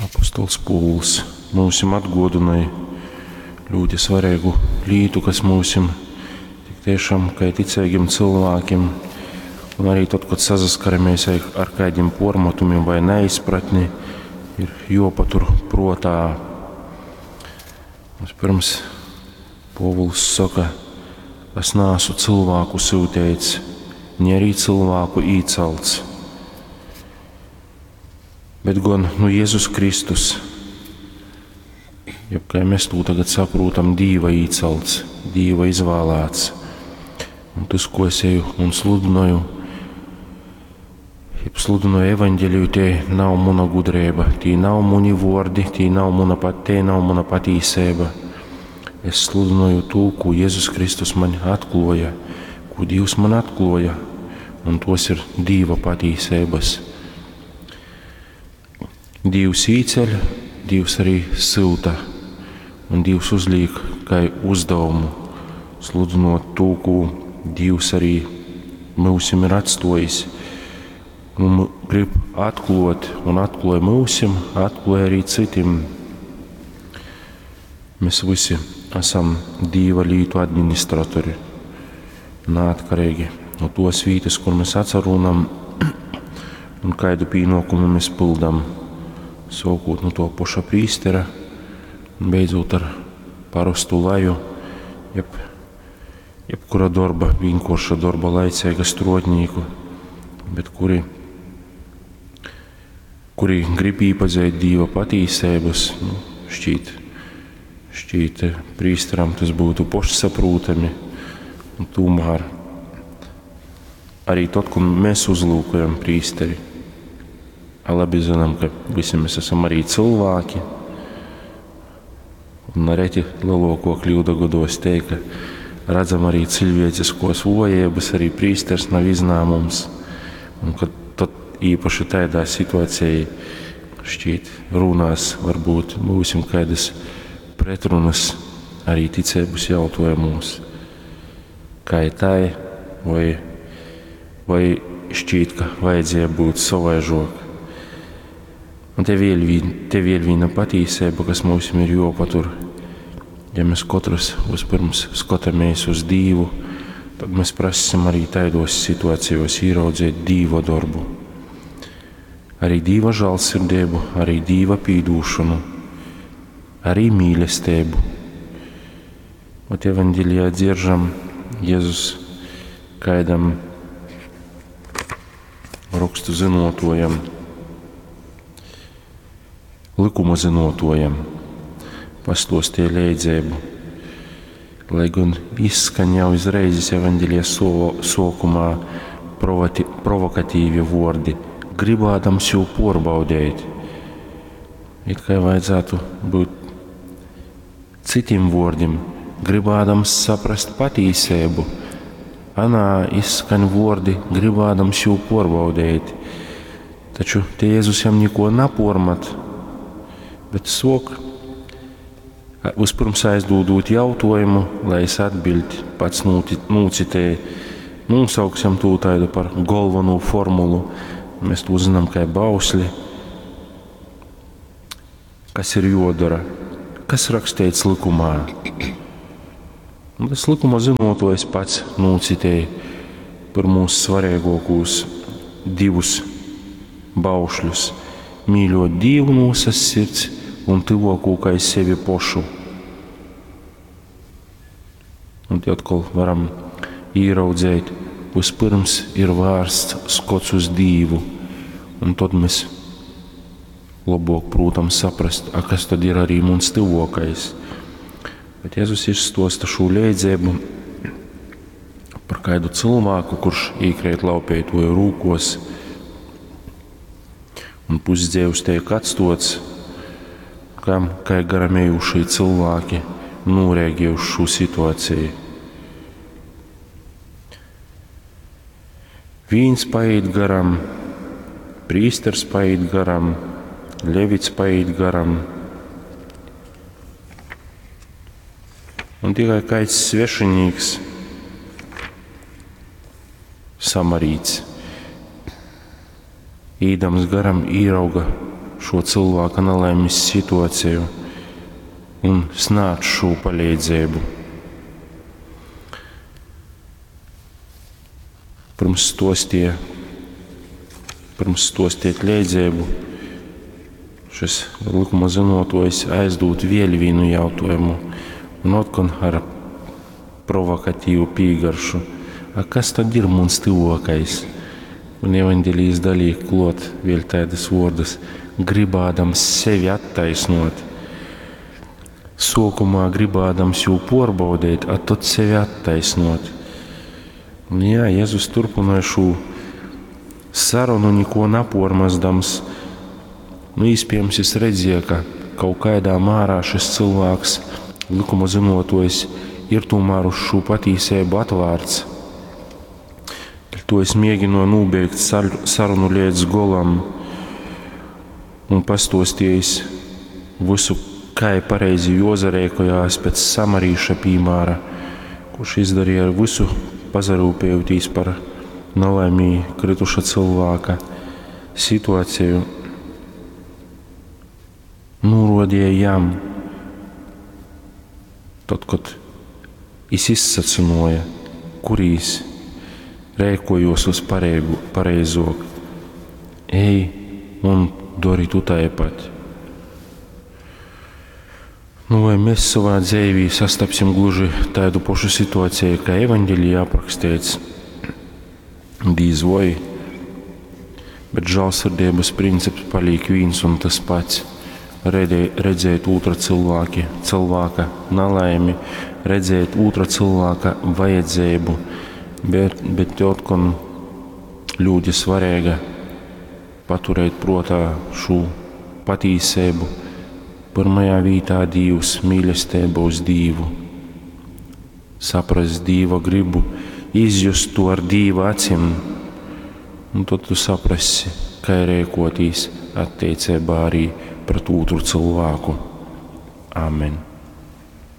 Apostols Pōvuls myusim atgōdynoj ļūti svareigu lītu, kas myusim tik tiešām, kai ticeigim cylvākim, un arī tod, kod sasaskaramies ar kaidim pormatumim vai neizpratni, ir jopatur protā. Vispirms Pōvuls soka, es neesmu cilvēku syuteits, ni arī cilvēku īcelts, bet gan nu Jēzus Kristus, jeb kā mēs to tagad saprotam, Dīva īcelts, Dīva izvēlēts. Un tas, ko es eju un sludinoju, jeb sludinoju evaņģeliju, tie nav muna gudrība, tie nav muni vordi, tie nav muna pat, tie nav muna patīsība. Es sludinoju to, ko Jēzus Kristus man atklāja, ko Dievs man atklāja, un tos ir Dieva patīsības. Dievs īceļ, Dievs arī syuta, un Dievs uzliek kā uzdevumu sludinot to, ko Dievs arī mūsim ir atstojis. Un grib atklāt, un atklāja mūsim, atklāja arī citiem. Mēs visi esam Dieva lītu administratori, neatkarīgi no tos vietas, kur mēs atsarunam un kādu pienākumu mēs pildam. Sākot no to paša prīstera un beidzot ar parastu laju, jebkura darba, vienkārša darba laicīga strotnieku, bet kuri grib iepazīt Dieva patīsības, nu, šķiet prīsteram tas būtu pašsaprotami, un tomēr arī tad, kad mēs uzlūkojam prīsteri, labi zinām, ka visi mēs esam arī cilvēki, un reti lielāko kļūdu gados teikt, ka redzam arī cilvēciskos vojības, arī prīsters nav iznāmums, un kad tad īpaši tādā situācijā šķiet runās, varbūt būsim kādas pretrunas arī ticības jautājumos, kā ir tai, vai šķiet, ka vajadzēja būt savaižok. Un te vēl viena patīsība, kas mums ir jopatur. Ja mēs katrs vispirms skatāmies uz Dievu, tad mēs prasam arī tādos situācijos ieraudzīt Dieva darbu. Arī Dieva žēlsirdību, arī Dieva pīdūšanu, arī mīlestību. Ot evaņģēlijā dzieržam Jēzus kādam rakstu zinotojam, likuma zinotojam, pastostie leidzēbu, lai gan izskan jau izreizes evaņģēlijas sokumā provokatīvi vordi, gribādams jū porbaudēt. It kā vajadzētu būt citiem vārdiem, gribādams saprast patīsību. Anā izskan vordi, gribādams jū porbaudēt. Taču te Jēzus jam neko napormat, bet sok, vispirms aizdodot jautājumu, lai es atbild pats nūcitēju, nosauksim tū taidu par galveno formulu. Mēs to zinām kā bausli. Kas ir jodara? Kas rakstīts likumā? Un tas likuma zinotojs pats nūcitēja par mūsu svarīgākos divus baušļus. Mīļot Dievu no visas sirds un tuvāko kā sevi pašu. Un te atkal varam ieraudzēt, vispirms ir vērsts skots uz Dievu, un tad mēs labāk, protams, saprast, a, kas tad ir arī mums tuvākais. Bet Jēzus izstosta šo leidzēbu par kādu cilvēku, kurš īkrēt laupētoju rūkos, un pusdzīvs tiek atstots, kam, kā garamējušie cilvēki norēģē uz šo situāciju. Vīns paiet garam, prīsters paiet garam, levits paiet garam. Un tikai kāds svešinieks, samarīts, īdams garam īrauga šo cylvāka nalaimis situaceju un snādz šū paleidzeibu. Pyrms stuostie, pyrms stuostiet leidzeibu, šis likuma zynuotuojs aizdūd vēļ vīnu jautājumu un otkon ar provokatīvu pīgaršu. A kas tad ir muns tyvuokais? Un evaņģēlijs dalīk kluot vēļ taidys vuordus: gribādams sevi attaisnot. Suokumā gribādams jū puorbaudeit, a tod sevi attaisnot. Un jā, Jezus turpināja šo sarunu, neko napormazdams. Nu, iespējams, es redzēju, ka kaut kādā mērā šis cilvēks, likuma zinotojs, ir tomēr uz šo patīsību atvērts. To es mēģināju nobeigt sarunu līdz golam un pastostījis visu, kā pareizi jozarēkojās pēc samarīša piemēra, kurš izdarīja visu pazarūpējotīs par nelaimī krituša cilvēka situāciju, norodīja jam, tad, kad es izsacinoja, kurīs rēkojos uz pareigu, pareizok, ej un dori tu tāpat. Nu, vai mēs savā dzīvī sastapsim gluži tādu pašu situāciju, kā evaņģēlijā aprakstīts? Dīz vai, bet žēlsirdības princips paliek viens un tas pats. Redzēt otra cilvēki, cilvēka nelaimi, redzēt otra cilvēka vajadzību, bet, bet otkon ļoti svarīga paturēt prātā šo patīsību. Pirmajā vietā Dievs, mīlestība uz Dievu, saprast Dieva gribu, izjust to ar Dieva acīm, un tad tu saprasi, kā rēkotīs attiecībā arī pret otru cilvēku. Amen.